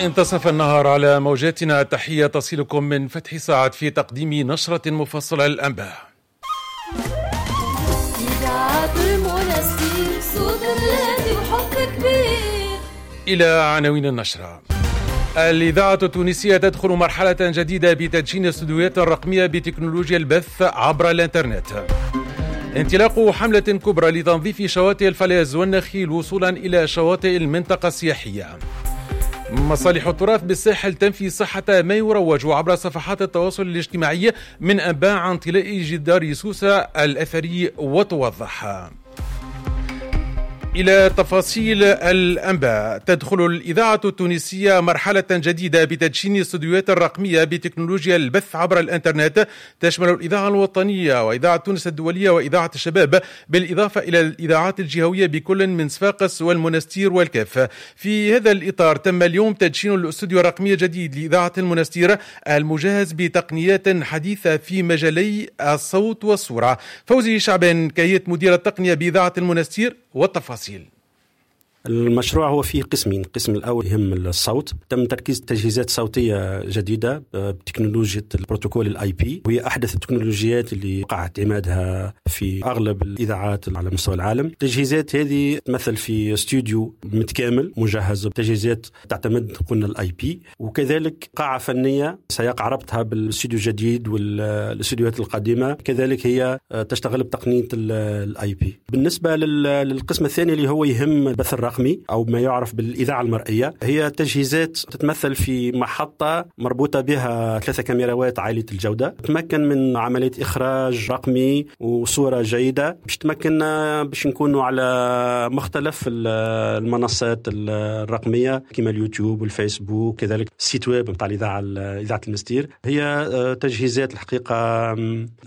انتصف النهار على موجاتنا. تحية تصلكم من فتح ساعات في تقديم نشرة مفصلة للأنباء. إلى عناوين النشرة. الإذاعة التونسية تدخل مرحلة جديدة بتدشين استوديوهات رقمية بتكنولوجيا البث عبر الإنترنت. انطلاق حملة كبرى لتنظيف شواطئ الفلاز والنخيل وصولا إلى شواطئ المنطقة السياحية. مصالح التراث بالساحل تنفي صحة ما يروج عبر صفحات التواصل الاجتماعي من أنباء عن طلاء جدار سوسة الأثري وتوضح. إلى تفاصيل الأنباء. تدخل الإذاعة التونسية مرحلة جديدة بتدشين استوديوهات الرقمية بتكنولوجيا البث عبر الإنترنت، تشمل الإذاعة الوطنية وإذاعة تونس الدولية وإذاعة الشباب، بالإضافة إلى الإذاعات الجهوية بكل من صفاقس والمنستير والكاف. في هذا الإطار تم اليوم تدشين الاستوديو الرقمي الجديد لإذاعة المنستير المجهز بتقنيات حديثة في مجالي الصوت والصورة. فوزي شعبان كيت مدير التقنية بإذاعة المنستير والتفاصيل. المشروع هو فيه قسمين، القسم الأول يهم الصوت، تم تركيز تجهيزات صوتية جديدة بتكنولوجيا البروتوكول ال IP، وهي أحدث التكنولوجيات اللي وقع اعتمادها في أغلب الإذاعات على مستوى العالم. التجهيزات هذه تمثل في استوديو متكامل مجهز بتجهيزات تعتمد قلنا ال IP، وكذلك قاعة فنية سيقع ربطها بالاستوديو الجديد والاستوديوهات القديمة، كذلك هي تشتغل بتقنية ال IP. بالنسبة للقسم الثاني اللي هو يهم البث الرقمي أو ما يعرف بالإذاعة المرئية، هي تجهيزات تتمثل في محطة مربوطة بها 3 كاميرات عالية الجودة، تمكن من عملية إخراج رقمي وصورة جيدة باش تمكن باش نكونوا على مختلف المنصات الرقمية كما اليوتيوب والفيسبوك، كذلك ال site web نتاع الإذاعة، إذاعة المستير. هي تجهيزات الحقيقة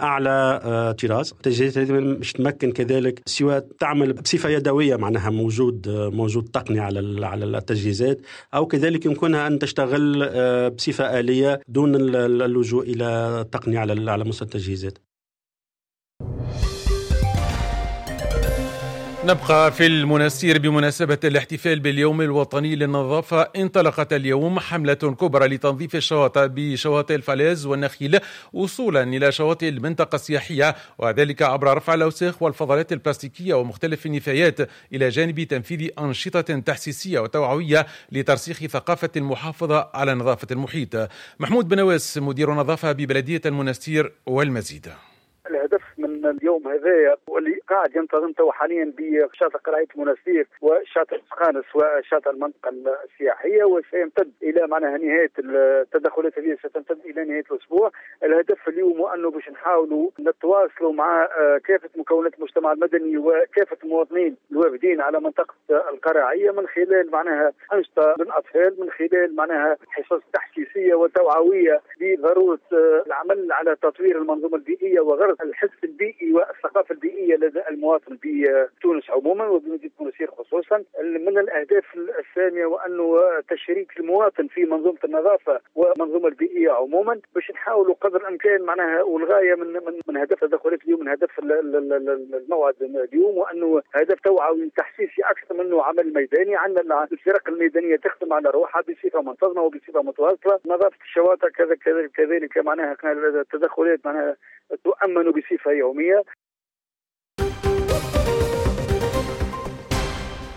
أعلى طراز. التجهيزات هذه باش تمكن كذلك سواء تعمل بصفة يدوية، معناها موجود تقني على التجهيزات، أو كذلك يمكنها أن تشتغل بصفة آلية دون اللجوء إلى التقنية على مستوى التجهيزات. نبقى في المنستير بمناسبة الاحتفال باليوم الوطني للنظافة. انطلقت اليوم حملة كبرى لتنظيف الشواطئ بشواطئ الفلاز والنخيل وصولا إلى شواطئ المنطقة السياحية، وذلك عبر رفع الأوساخ والفضلات البلاستيكية ومختلف النفايات، إلى جانب تنفيذ أنشطة تحسيسية وتوعوية لترسيخ ثقافة المحافظة على نظافة المحيط. محمود بنواس مدير النظافة ببلدية المنستير والمزيد. الهدف من اليوم هذايا واللي قاعد ينتظم تو حاليا بشاطئ قرعية المنستير وشاطئ سخانس وشاطئ المنطقة السياحية، وسيمتد إلى معناها نهاية التدخلات هذه ستمتد إلى نهاية الأسبوع. الهدف اليوم هو أنه باش نحاولوا نتواصلوا مع كافة مكونات المجتمع المدني وكافة المواطنين الوافدين على منطقة القرعية من خلال معناها أنشطة للأطفال، من خلال معناها حصص تحسيسية وتوعوية بضرورة العمل على تطوير المنظومة البيئية وغرس الحس البيئي والثقافة البيئية لدى المواطن بتونس عموما وبمدينة المنستير خصوصا. من الأهداف السامية وأنه تشريك المواطن في منظومة النظافة والمنظومة البيئية عموما، باش نحاولوا قدر الإمكان معناها، والغاية من هدف تدخلات اليوم، من هدف الموعد اليوم، وأنه هدف توعوي تحسيسي أكثر منه عمل ميداني. عندنا الفرق الميدانية تخدم على روحها بصفة منتظمة وبصفة متواصلة. نظافة الشواطئ كذا كذلك معناها التدخلات معناها تؤمن بصفة يومية.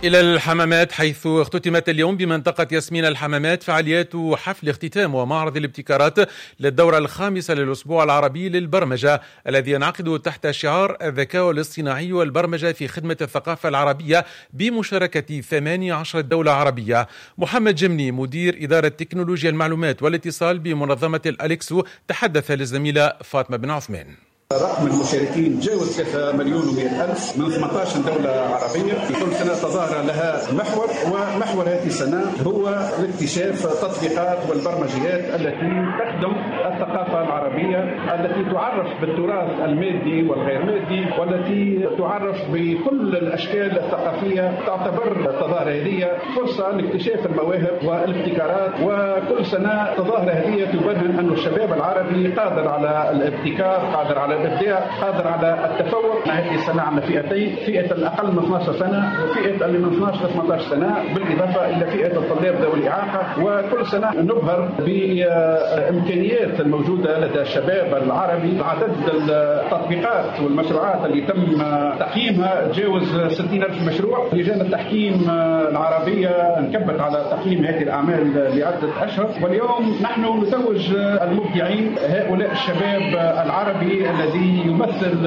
إلى الحمامات، حيث اختتمت اليوم بمنطقة ياسمين الحمامات فعاليات حفل اختتام ومعرض الابتكارات للدورة الخامسة للأسبوع العربي للبرمجة الذي ينعقد تحت شعار الذكاء الاصطناعي والبرمجة في خدمة الثقافة العربية بمشاركة 18 دولة عربية. محمد جمني مدير إدارة تكنولوجيا المعلومات والاتصال بمنظمة الأليكسو تحدث للزميلة فاطمة بن عثمان. رقم المشاركين تجاوز 3,100,000 من 18 دولة عربية. كل سنة تظاهرة لها محور، ومحور هذه السنة هو الاكتشاف التطبيقات والبرمجيات التي تخدم الثقافة العربية، التي تعرف بالتراث المادي والغير مادي، والتي تعرف بكل الأشكال الثقافية. تعتبر التظاهرة هذه فرصة لاكتشاف المواهب والابتكارات، وكل سنة تظاهرة هذه تبرهن أن الشباب العربي قادر على الابتكار، قادر على الإبداع، قادر على التفوق. هذه السنة عندنا فئتين، فئة الأقل من 12 سنة وفئة اللي من 12 ل 18 سنة، بالإضافة إلى فئة الطلاب ذوي الإعاقة. وكل سنة نبهر بإمكانيات الموجودة لدى الشباب العربي. عدد التطبيقات والمشروعات اللي تم تقييمها تجاوز 60,000 مشروع. لجان التحكيم العربية انكبت على تقييم هذه الأعمال لعدة أشهر، واليوم نحن نتوج المبدعين، هؤلاء الشباب العربي الذي يمثل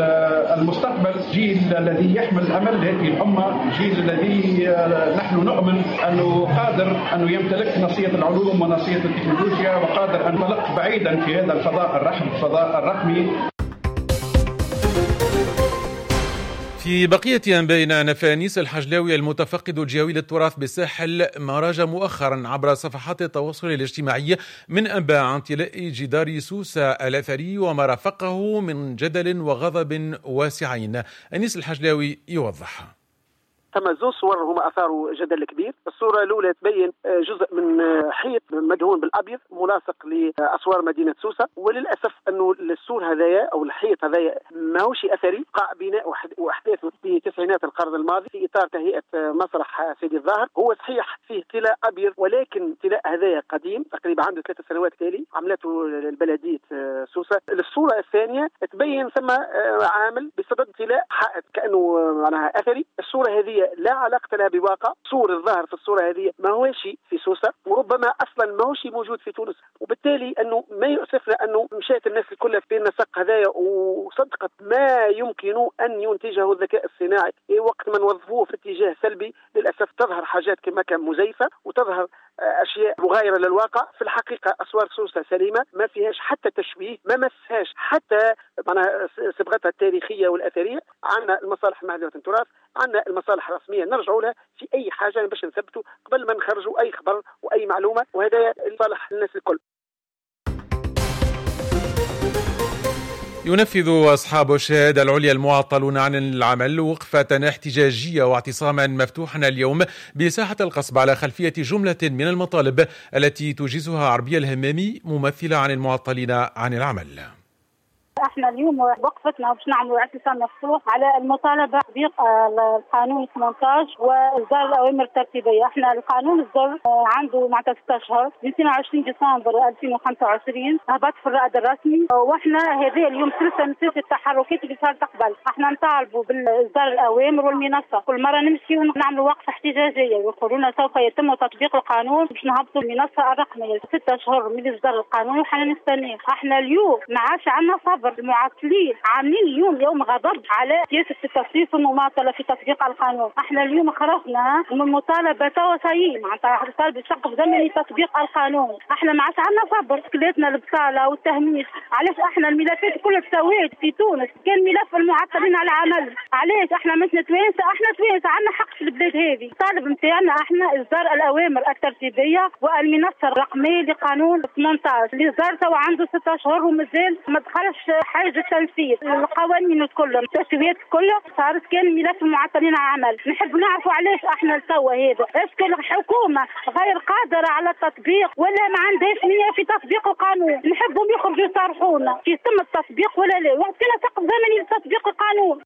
المستقبل، جيل الذي يحمل أمل هذه الأمة، جيل الذي نحن نؤمن أنه قادر أنه يمتلك نصية العلوم ونصية التكنولوجيا، وقادر أن ينطلق بعيدا في هذا الفضاء الرحب، الفضاء الرقمي. في بقية أنبائنا، نفى أنيس الحجلاوي المتفقد الجهوي للتراث بالساحل ما راج مؤخرا عبر صفحات التواصل الاجتماعي من أنباء عن طلاء جدار سوسة الأثري وما رافقه من جدل وغضب واسعين. أنيس الحجلاوي يوضح. ثم زوج صور هما اثاروا جدل كبير. الصورة الاولى تبين جزء من حيط مدهون بالابيض ملاصق لاسوار مدينة سوسة، وللاسف انه السور هذايا او الحيط هذايا ماهوش اثري، قاع بناء واحداثه في تسعينات القرن الماضي في اطار تهيئة مسرح سيدي الظاهر. هو صحيح فيه طلاء ابيض، ولكن طلاء هذايا قديم تقريبا عنده 3 سنوات تالي عملته البلدية سوسة. الصورة الثانية تبين ثم عامل بصدد طلاء حائط كانه معناها اثري. الصورة هذه لا علاقة لها بواقع، صور الظاهر في الصورة هذه ما هوش في سوسة، وربما أصلا ما هوش موجود في تونس، وبالتالي أنه ما يؤسفنا أنه مشات الناس الكل في النسق هذايا وصدقت ما يمكن أن ينتجه الذكاء الصناعي. وقت ما نوظفوه في اتجاه سلبي للأسف تظهر حاجات كما كان مزيفة وتظهر أشياء مغايرة للواقع. في الحقيقة أسوار سوسة سليمة، ما فيهاش حتى تشويه، ما مسهاش حتى معناها صبغتها التاريخية والأثرية. عندنا المصالح المهدية التراث، عندنا المصالح الرسمية نرجعوا لها في أي حاجة باش نثبتوا قبل ما نخرجوا أي خبر وأي معلومة، وهذا لصالح الناس الكل. ينفذ أصحاب الشهادة العليا المعطلون عن العمل وقفة احتجاجية واعتصاما مفتوحا اليوم بساحة القصب على خلفية جملة من المطالب التي تجيزها عربية الهمامي ممثلة عن المعطلين عن العمل. احنا اليوم وقفتنا باش نعملوا اعتصام مفتوح على المطالبة بتطبيق القانون 18 واصدار الاوامر الترتيبية. احنا القانون صدر عنده معناتها 6 اشهر من 22 ديسمبر 2025 هبط في الرائد الرسمي، واحنا هذا اليوم سلسلة من سلسلة التحركات اللي صارت قبل. احنا نطالبوا باصدار الاوامر والمنصه، كل مرة نمشي ونعملوا وقفه احتجاجية ويقولون سوف يتم تطبيق القانون باش نهبطوا المنصة الرقمية. 6 اشهر من اصدار القانون وحنا نستناه. احنا اليوم ما عادش عندنا صبر. المعطلين عاملين اليوم يوم غضب على سياسة التصريف والمماطلة في تطبيق القانون. احنا اليوم خرجنا من المطالبة توا معناتها طالب سقف زمني تطبيق القانون. احنا ما عادش عندنا صبر، كلاتنا البطالة والتهميش. علاش احنا الملفات كلها تساوات في تونس؟ كان ملف المعطلين على العمل. علاش احنا مثل توانسة؟ احنا توانسة عندنا حق في البلاد هذه. الطالب نتاعنا احنا اصدار الاوامر الترتيبية والمنصة الرقمية لقانون 18 اللي صدر توا عنده 6 اشهر ومازال ما دخلش حاجة التنفيذ. القوانين الكل التسويات الكل صارت كان ملف المعطلين على العمل. نحب نعرفوا علاش احنا لتوا هذا، est-ce que الحكومة غير قادرة على التطبيق ولا ما عندهاش نيه في تطبيق القانون؟ نحبهم يخرجوا يصارحونا في تم التطبيق ولا لا، وعطينا سقف زمني لتطبيق القانون.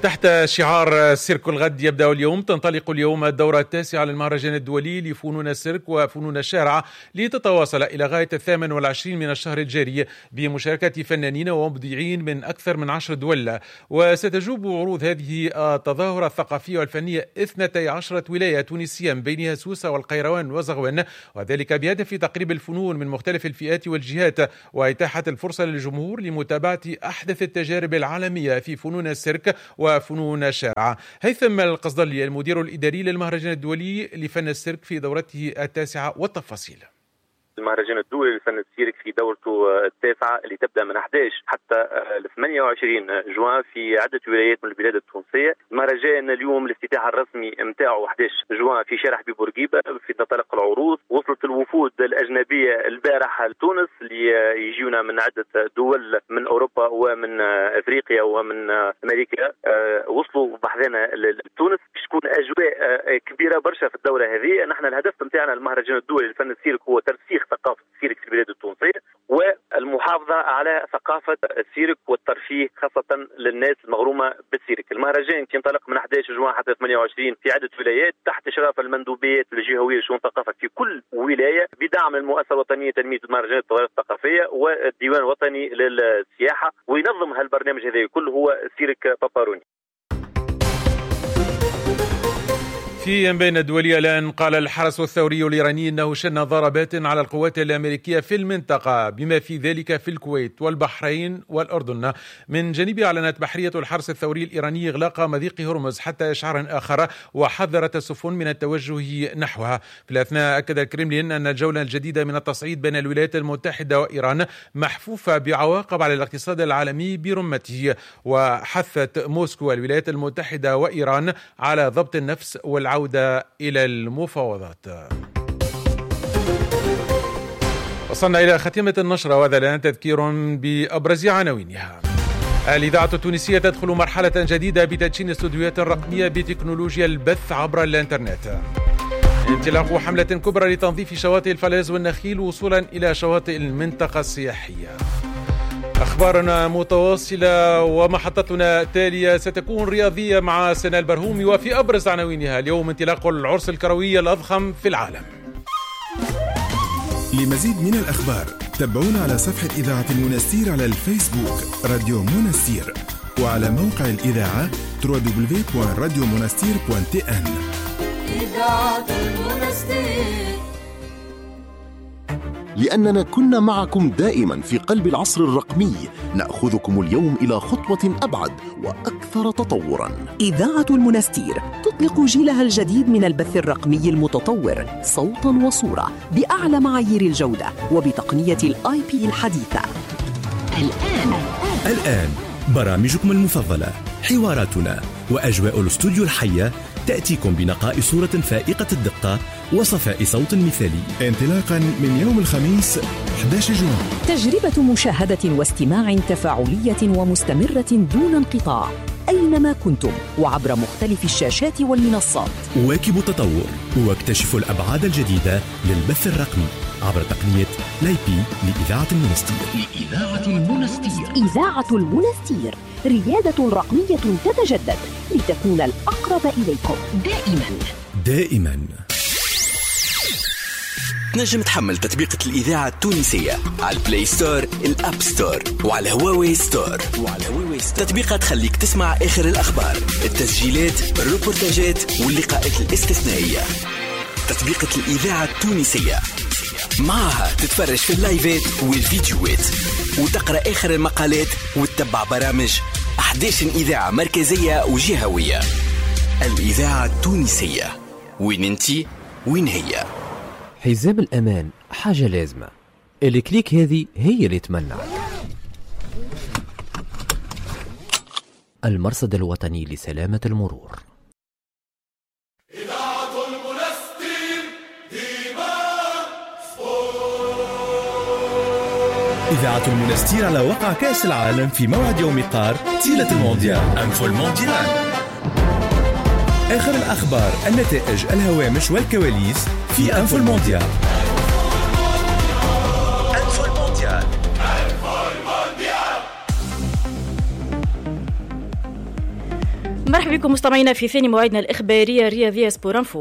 تحت شعار سيرك الغد يبدأ اليوم، تنطلق اليوم الدورة التاسعة للمهرجان الدولي لفنون السيرك وفنون الشارع لتتواصل إلى غاية 28 من الشهر الجاري بمشاركة فنانين ومبدعين من أكثر من 10 دول. وستجوب عروض هذه التظاهرة الثقافية والفنية 12 ولاية تونسية بينها سوسة والقيروان وزغوان، وذلك بهدف تقريب الفنون من مختلف الفئات والجهات وإتاحة الفرصة للجمهور لمتابعة أحدث التجارب العالمية في فنون السيرك وفنون الشارع. هيثم القصدلي المدير الإداري للمهرجان الدولي لفن السيرك في دورته التاسعة والتفاصيل. المهرجان الدولي لفن السيرك في دورته التاسعة اللي تبدأ من 11 حتى 28 جوان في عدة ولايات من البلاد التونسية. المهرجان اليوم الافتتاح الرسمي متاعه 11 جوان في شارع حبيب بورقيبة في تنطلق العروض. وصلت الوفود الأجنبية البارحة لتونس اللي يجيونا من عدة دول من أوروبا ومن أفريقيا ومن أمريكا، وصلوا بحذانا لتونس. باش تكون أجواء كبيرة برشا في الدورة هذه. نحن الهدف متاعنا المهرجان الدولي لفن السيرك هو ترسيخ ثقافة السيرك في البلاد التونسية والمحافظة على ثقافة السيرك والترفيه خاصة للناس المغرومة بالسيرك. المهرجان ينطلق من 11 جوان حتى 28 في عدة ولايات تحت إشراف المندوبيات الجهوية لشؤون الثقافة في كل ولاية، بدعم المؤسسة الوطنية لتنمية المهرجانات والتظاهرات الثقافية والديوان الوطني للسياحة. وينظم هالبرنامج هذا كله هو سيرك باباروني. في بين الدولية الآن، قال الحرس الثوري الإيراني أنه شن ضربات على القوات الأمريكية في المنطقة بما في ذلك في الكويت والبحرين والأردن. من جانبها أعلنت بحرية الحرس الثوري الإيراني إغلاق مضيق هرمز حتى إشعار آخر، وحذرت السفن من التوجه نحوها. في الأثناء أكد الكرملين أن الجولة الجديدة من التصعيد بين الولايات المتحدة وإيران محفوفة بعواقب على الاقتصاد العالمي برمته، وحثت موسكو الولايات المتحدة وإيران على ضبط النفس والعودة إلى المفاوضات. وصلنا إلى ختيمة النشرة، وهذا الآن تذكير بأبرز عناوينها. الإذاعة التونسية تدخل مرحلة جديدة بتدشين استوديوهات رقمية بتكنولوجيا البث عبر الإنترنت. انطلاق حملة كبرى لتنظيف شواطئ الفلاز والنخيل وصولا إلى شواطئ المنطقة السياحية. أخبارنا متواصلة ومحطتنا التالية ستكون رياضية مع سنة البرهومي، وفي أبرز عناوينها اليوم انطلاق العرس الكروي الأضخم في العالم. لمزيد من الأخبار تابعونا على صفحة إذاعة المنستير على الفيسبوك راديو منستير، وعلى موقع الإذاعة www.radiomonastir.tn. إذاعة المنستير. لأننا كنا معكم دائما في قلب العصر الرقمي، نأخذكم اليوم إلى خطوة أبعد وأكثر تطورا. إذاعة المنستير تطلق جيلها الجديد من البث الرقمي المتطور صوتا وصورة بأعلى معايير الجودة وبتقنية ال IP الحديثة. الآن برامجكم المفضلة، حواراتنا وأجواء الاستوديو الحية تأتيكم بنقاء صورة فائقة الدقة وصفاء صوت مثالي، انطلاقا من يوم الخميس 11 جوان. تجربة مشاهدة واستماع تفاعلية ومستمرة دون انقطاع أينما كنتم وعبر مختلف الشاشات والمنصات. واكبوا التطور واكتشفوا الأبعاد الجديدة للبث الرقمي عبر تقنية l'IP لإذاعة المنستير. لإذاعة المنستير. إذاعة المنستير، ريادة رقمية تتجدد لتكون الأقرب إليكم دائما. دائما. تنجم تحمل تطبيقة الإذاعة التونسية على ال Play Store، ال App Store، وعلى هواوي Store. تطبيقة تخليك تسمع آخر الأخبار، التسجيلات، الروبورتاجات واللقاءات الاستثنائية. تطبيقة الإذاعة التونسية معها تتفرج في اللايفات والفيديوهات وتقرأ آخر المقالات وتتبع برامج 11 إذاعة مركزية وجهوية. الإذاعة التونسية، وين انتي وين هي. حزام الأمان حاجة لازمة، ال clic هذه هي اللي تمنعك. المرصد الوطني لسلامة المرور. إذاعة المنستير ديما sport. إذاعة المنستير على وقع كأس العالم في موعد يوم قار طيلة المونديال. info المونديال، آخر الأخبار، النتائج، الهوامش والكواليس في info المونديال. info المونديال. مرحبا بكم مستمعينا في ثاني موعدنا الإخبارية الرياضية Sport Info.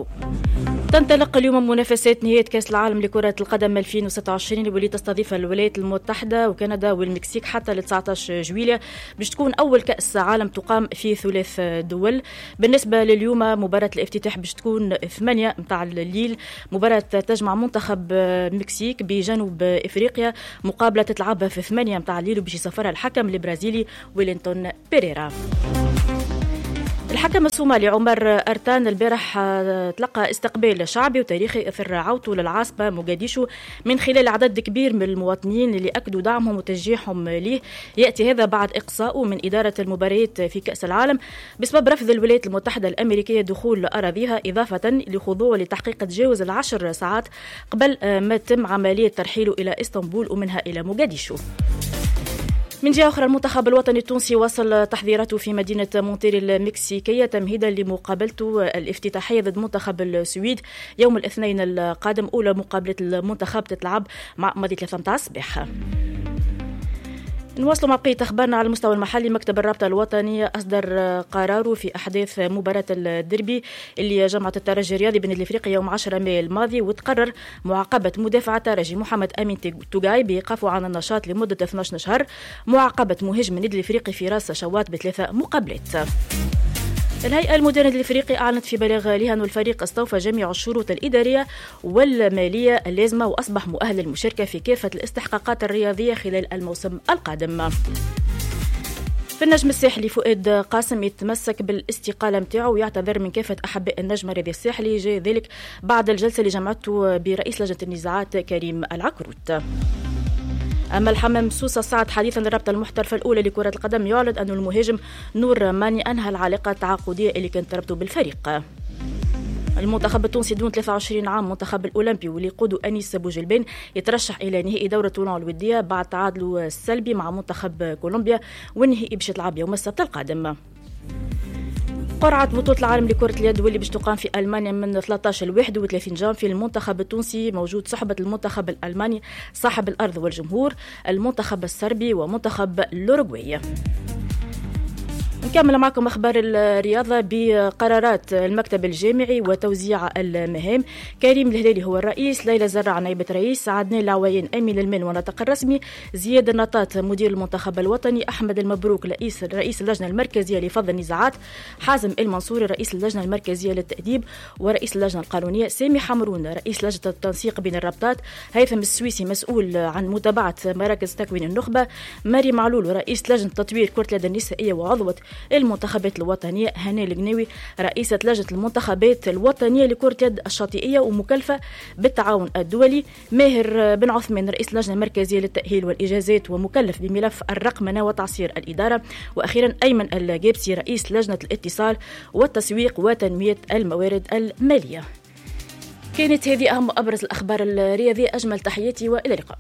تنطلق اليوم منافسات نهاية كأس العالم لكرة القدم 2026 واللي تستضيفها الولايات المتحدة وكندا والمكسيك حتى ل 19 جويلية، باش تكون أول كأس عالم تقام في 3 دول. بالنسبة لليوم مباراة الافتتاح باش تكون 8 متاع الليل، مباراة تجمع منتخب المكسيك بجنوب إفريقيا، مقابلة تتلعب في 8 متاع الليل وباش يسافرها الحكم البرازيلي ويلينتون بيريرا. الحكم الصومالي عمر أرتان البارح تلقى استقبال شعبي وتاريخي اثر عودته للعاصمة موغاديشو من خلال عدد كبير من المواطنين اللي أكدوا دعمهم وتشجيعهم ليه. يأتي هذا بعد إقصائه من إدارة المباريات في كأس العالم بسبب رفض الولايات المتحدة الأمريكية دخول أراضيها، إضافة لخضوعه لتحقيق تجاوز 10 ساعات قبل ما تم عملية ترحيله إلى إسطنبول ومنها إلى موغاديشو. من جهة أخرى، المنتخب الوطني التونسي وصل تحضيراته في مدينة مونتيري المكسيكية تمهيدا لمقابلته الافتتاحية ضد منتخب السويد يوم الاثنين القادم. أولى مقابلة المنتخب تتلعب مع ماضي 3 الصباح. نواصل مع بقية أخبارنا على المستوى المحلي. مكتب الرابطة الوطني أصدر قراره في أحداث مباراة الديربي اللي جمعت الترجي الرياضي بالنادي الإفريقي يوم 10 ماي الماضي، وتقرر معاقبة مدافع الترجي محمد أمين توغاي بإيقافه عن النشاط لمدة 12 شهر، معاقبة مهاجم النادي الإفريقي فراس شواط ب3 مقابلات. الهيئة المديرة للإفريقي أعلنت في بلاغ لها أن الفريق استوفى جميع الشروط الإدارية والمالية اللازمة وأصبح مؤهل للمشاركة في كافة الاستحقاقات الرياضية خلال الموسم القادم. في النجم الساحلي فؤاد قاسم يتمسك بالاستقالة متاعه ويعتذر من كافة أحباء النجم الرياضي الساحلي، جاء ذلك بعد الجلسة اللي جمعته برئيس لجنة النزاعات كريم العكروت. أما الحمام سوسة صعد حديثا للرابطة المحترفة الأولى لكرة القدم، يعلن أن المهاجم نور ماني أنهى العلاقة التعاقدية اللي كانت تربطه بالفريق. المنتخب التونسي دون 23 عام منتخب الأولمبي واللي يقوده أنيس بوجلبان يترشح إلى نهائي دورة تولون الودية بعد تعادله السلبي مع منتخب كولومبيا، والنهائي باش يتلعب يوم السبت القادم. قرعة بطولة العالم لكرة اليد واللي باش تقام في ألمانيا من 13 ل 31 جانفي، المنتخب التونسي موجود صحبة المنتخب الألماني صاحب الأرض والجمهور، المنتخب الصربي ومنتخب الأوروغواي. نكمل معكم أخبار الرياضة بقرارات المكتب الجامعي وتوزيع المهام. كريم الهلالي هو الرئيس، ليلى زرع نائبة رئيس، عدنان العوين أمين المال وناطق الرسمي، زياد النطاط مدير المنتخب الوطني، أحمد المبروك رئيس اللجنة المركزية لفض النزاعات، حازم المنصوري رئيس اللجنة المركزية للتأديب ورئيس اللجنة القانونية، سامي حمرون رئيس لجنة التنسيق بين الرابطات، هيثم السويسي مسؤول عن متابعة مراكز تكوين النخبة، ماري معلول رئيس لجنة تطوير كرة اليد النسائية وعضوة المنتخبات الوطنية، هاني القناوي رئيسة لجنة المنتخبات الوطنية لكرة اليد الشاطئية ومكلفة بالتعاون الدولي، ماهر بن عثمان رئيس اللجنة المركزية للتأهيل والإجازات ومكلف بملف الرقمنة وتعصير الإدارة، وأخيرا أيمن الجابسي رئيس لجنة الاتصال والتسويق وتنمية الموارد المالية. كانت هذه أهم وأبرز الأخبار الرياضية. أجمل تحياتي وإلى اللقاء.